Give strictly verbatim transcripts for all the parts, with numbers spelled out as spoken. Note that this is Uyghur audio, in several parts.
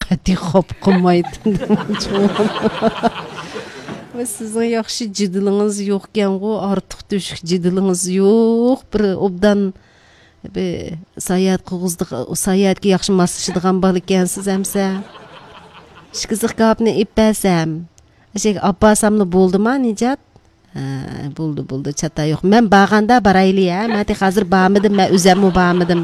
ئەتىگە خاپا قىلمايتتىم. ۋە سىزنىڭ ياخشى جېدىلىڭىز يوقكەنغۇ، ئارتۇق تۆشۈك جېدىلىڭىز يوق. بىر ئوبدان بىر ساياھەت قىلغۇزىدىغ-، ساياھەتكە ياخشى ماسلىشىدىغان بالا ئىكەنسىز ئەمسە. ئىككى زىخكاپنى ئېلىپ بەرسەم، ئەشەگە ئاپارساملا بولدىما، نىجات؟ ھە، بولدى، بولدى، چاتا يوق. مەن بارغاندا بارايلى، ھە؟ مەن تېخى ھازىر بارمىدىم، مەن ئۆزەممۇ بارمىدىم.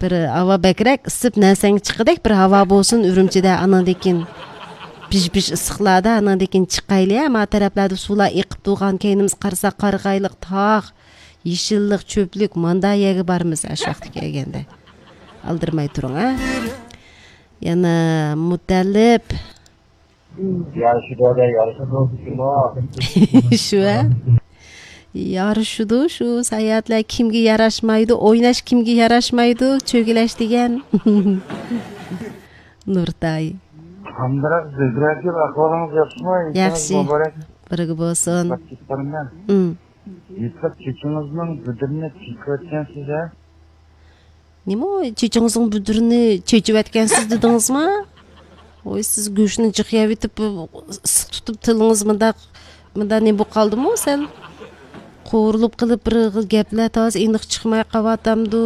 بىر ھاۋا بەكرەك ئىسسىپ، نەرسەڭگە چىققۇدەك بىر ھاۋا بولسۇن ئۈرۈمچىدە، ئاناندىن كېيىن پىژ-پىژ ئىسسىقلاردا، ئاناندىن كېيىن چىقايلى، ھە؟ ما تەرەپلەردە سۇلار ئېقىپ تۇرغان، كەينىمىزگە قارىساق، قارىغايلىق تاغ، يېشىللىق، چۆپلۈك، ماندا يەرگە بارىمىز، ھە، شۇ ۋاقىتتا كەلگەندە. ئالدىرىماي تۇرۇڭ، ھە؟ يەنە مۇتەللىپ. يارىشىدۇ، يارىشىدۇ، شۇ. شۇ، ھە؟ يارىشىدۇ، شۇ ساياھەتلەر كىمگە ياراشمايدۇ، ئويناش كىمگە ياراشمايدۇ، چۆگىلەش دېگەن. نۇرتاي. قانداق زۆھرەگۈل، ئەھۋالىڭىز ياخشىمۇ؟ ياخشى. مۇبارەك. بىرگە بولسۇن. ئىم. يېپىق چېچىڭىزنىڭ بۈدرىنى چېچىۋەتكەنسىز ھە؟ نېمە، چېچىڭىزنىڭ بۈدرىنى چېچىۋەتكەنسىز دېدىڭىزما؟ ۋوي، سىز گۆشنى جىق يەۋېتىپ، ئىسسىق تۇتۇپ تىلىڭىز مۇنداق، مۇنداق نېمە بولۇپ قالدىمۇ سەل؟ قورۇلۇپ قېلىپ بىر خىل گەپلەر تازا ئېنىق چىقماي قاۋاتامدۇ؟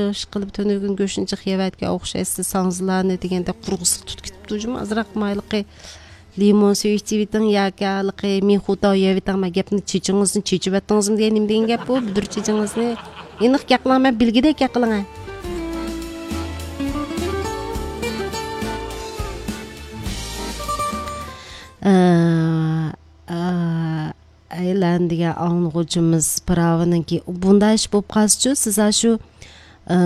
ئىشقىلىپ تۈنۈگۈن گۆشنى جىق يەۋەتكەن ئوخشايسىز، ساڭزىلارنى دېگەندەك قۇرۇق ئىسسىق تۇتۇپ كېتىپتۇ جۇمۇ. ئازراق مايلىقى لىمون سۈيى ئىچىۋېتىڭ ياكى ھېلىقى مىخۇتا يەۋېتىڭ. مەن گەپنى چېچىڭىزنى چېچىۋەتتىڭىزمۇ دېگەن نېمە دېگەن گەپ بۇ؟ بۈدۈر چېچىڭىزنى. ئېنىق گەپ قىلىڭ، مەن بىلگۈدەك گەپ قىلىڭ. ئە، ئە، ئەيلەن دېگەن ئاڭلىغۇچىمىز پىراۋىنىڭكى بۇنداق ئىش بولۇپ قالسىچۇ، سىز ئاشۇ، ئە،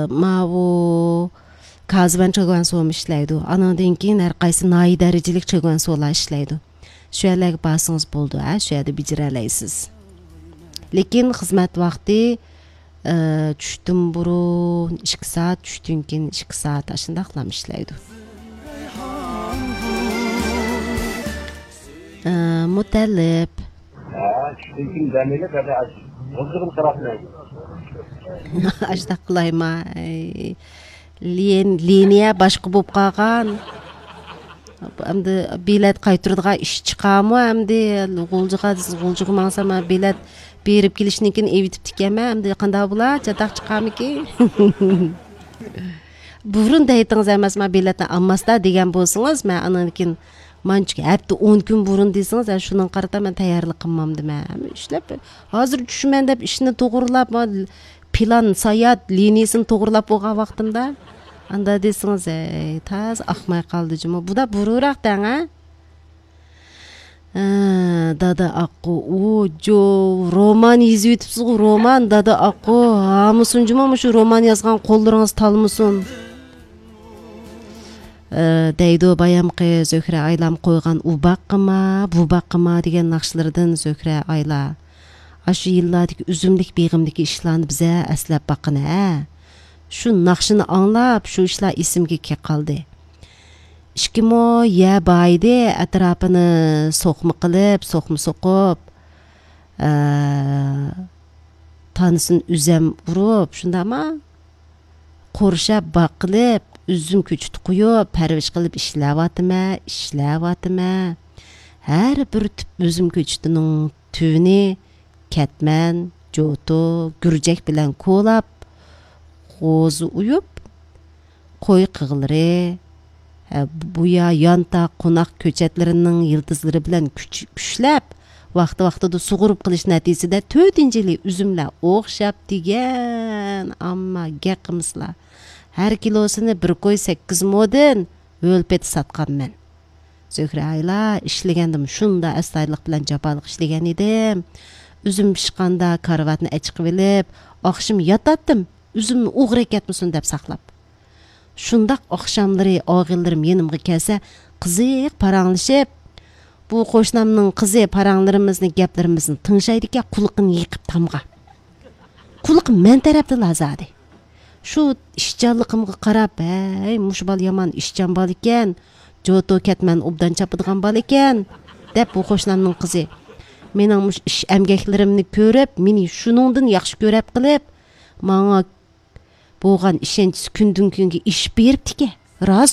ماۋۇ كازىۋەن چېگۋەنسومۇ ئىشلەيدۇ. ئانىڭدىن كېيىن ھەر قايسى ناھىيە دەرىجىلىك چېگۋەنسولار ئىشلەيدۇ. شۇ يەرلەرگە بارسىڭىز بولىدۇ، ھە، شۇ يەردە بېجىرەلەيسىز. لېكىن خىزمەت ۋاقتى، ئە، چۈشتىن بۇرۇن ئىككى سائەت، چۈشتىن كېيىن ئىككى سائەت، ئاشۇنداقلام ئىشلەيدۇ. ئە، مۇتەللىپ. ھە، چۈشتىن كېيىن دەم ئېلىپ، ھەدە ئاش-، غۇلجىغىلا قاراپ مەن. ئاشۇنداق قىلايما؟ ئەي، لىن-، لىنىيە باشقا بولۇپ قالغان. ئەمدى بېلەت قايتۇرىدىغان ئىش چىقارمۇ ئەمدى؟ غۇلجىغا، غۇلجىغا ماڭسام، بېلەت بېرىپ كېلىشتىن كېيىن ئېۋىتىپتىكەنمەن. ئەمدى قانداق بولا؟ چاتاق چىقارمىكىن؟ بۇرۇن دەيتىڭىز ئەمەسما، بېلەتنى ئالماستا دېگەن بولسىڭىز، مەن ئاندىن كېيىن مانچە ھەپتە، ئون كۈن بۇرۇن دېسىڭىز، ھە، شۇنىڭغا قارىتا مەن تەييارلىق قىلمامدىمەن. ھەممە ئىشلەپ، ھازىر چۈشىمەن دەپ ئىشنى توغرىلاپ، ما-، پىلان ساياھەت لىنىيىسىنى توغرىلاپ بولغان ۋاقتىمدا، ئاندا دېسىڭىز، ھەي، تازا ئاقماي قالدى جۇمۇ. بۇدا بۇرۇنراق دەڭ، ھە؟ ھە، دادا ئاققۇ، ئۇ، جو، رومان يېزىۋېتىپسىزغۇ، رومان، دادا ئاققۇ، ھامىسۇن جۇمۇ، مۇشۇ رومان يازغان قوللىرىڭىز تالمىسۇن. ئە، دەيدۇ بايامقى زۆھرە ئايلام قويغان ئۇ باغقىما، بۇ باغقىما دېگەن ناخشىلىرىدىن زۆھرە ئايلا. ئاشۇ يىللاردىكى ئۈزۈملۈك بېغىمدىكى ئىشلارنى بىزە ئەسلەپ باققىنا ھە. شۇ ناخشىنى ئاڭلاپ، شۇ ئىشلار ئېسىمگە كېلىپ قالدى. ئىككى مو يەر بار ئىدى، ئەتراپىنى سوقما قىلىپ، سوقما سوقۇپ، ئە، تانىسىنى ئۈزۈم ئۇرۇپ، شۇنداقما؟ قورشاپ باققىلى، ئۈزۈم كۆچىتى قويۇپ، پەرۋىش قىلىپ ئىشلەۋاتىمەن، ئىشلەۋاتىمەن. ھەر بىر تۈپ ئۈزۈم كۆچىتىنىڭ تۈۋىنى كەتمەن، جوتۇ، گۈرجەك بىلەن كولاپ، غوزا ئويۇپ، قوي قىغلىرى، ھە، بۇيا يانتاق، قوناق كۆچەتلىرىنىڭ يىلتىزلىرى بىلەن كۈچ-، كۈچلەپ، ۋاقتى-ۋاقتىدا سۇغۇرۇپ قىلىش نەتىجىسىدە تۆتىنچى يىلى ئۈزۈملەر ئوخشاپ دېگەن، ئامما گەپ قىلمىسىلا. ھەر كىلوسىنى بىر كوي سەككىز مودىن ھۆل پېتى ساتقانمەن. زۆھرە ئايلا، ئىشلىگەندىمۇ شۇنداق ئەستايىدىللىق بىلەن جاپالىق ئىشلىگەن ئىدىم. ئۈزۈم پىشقاندا كارىۋاتنى ئەچىقىۋېلىپ، ئاخشىمى ياتاتتىم، ئۈزۈمنى ئوغرى ئەكەتمىسۇن دەپ ساقلاپ. شۇنداق ئاخشاملىرى ئاغىنىلىرىم يېنىمغا كەلسە، قىزىق پاراڭلىشىپ، بۇ قوشنامنىڭ قىزى پاراڭلىرىمىزنى، گەپلىرىمىزنى تىڭشايدىكەن، قۇلىقىنى يېقىپ تامغا. قۇلىقى مەن تەرەپتىلا زادى. شۇ ئىشچانلىقىمغا قاراپ، ھەي، مۇشۇ بالا يامان ئىشچان بالا ئىكەن، جوتۇ كەتمەن ئوبدان چاپىدىغان بالا ئىكەن، دەپ بۇ قوشنامنىڭ قىزى مېنىڭ مۇشۇ ئىش ئەمگەكلىرىمنى كۆرۈپ، مېنى شۇنىڭدىن ياخشى كۆرەپ قېلىپ، ماڭا بولغان ئىشەنچىسى كۈندىن كۈنگە ئېشىپ بېرىپتىكەن. راست